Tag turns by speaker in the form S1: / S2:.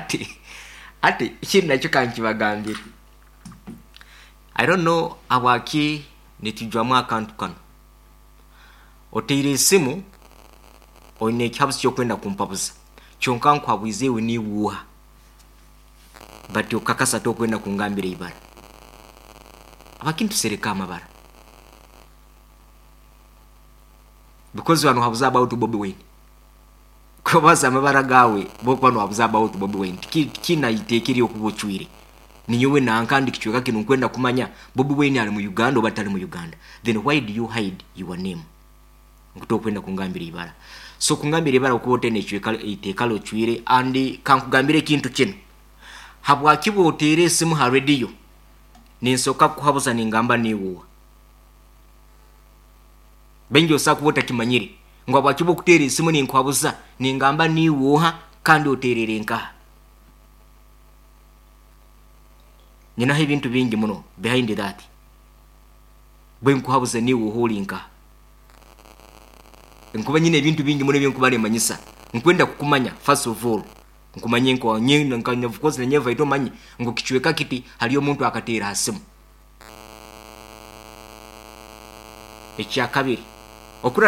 S1: Hati hati ekindi nakyo kankibagambire. I don't know habwaki nitujwamu akantu kanu. Oteire esimu oine ekihabuzo ky'okwenda kumpabuza kyonka nkuhabwize iwe niiwe oha? But okakasa tokwenda kungambira eibara. Habwaki nitusereka amabara? Because wano habuza about Bobi Wine. Kubaza amabara gaawe bwokuba nohabuza about Bobi Wine tikiine iteeka eryokuba ocwire. Ninyowe nanka ndi kicweka kinu nkwenda kumanya Bobi Wine ari mu Uganda oba tari mu Uganda. Then why do you hide your name? Ngu tokwenda kungambira ibara. So kungambira ibara okuba otaine ecweka iteeka ryocwire and kankugambire ekintu kinu. Habwaki bwoteera esimu ha radio ninsoka kukuhabuza ningamba niiwe oha? Baingi osobola kuba otakimanyire ngu habwaki bwokuteera esimu ninkuhabuza ningamba niiwe oha kandi oteerere nkaha. Nyinaho ebintu bingi muno behind that. Bwenkuhabuza niiwe oha ori nkaha. Nkuba nyine ebintu bingi muno ebinkuba nimanyisa. Nkwenda kukumanya first of all. Nkumanye nka nka of course nanyewe vaito omanye ngu kicweka kiti hariyo omuntu akateera aha simu. Ekyakabiri, okura.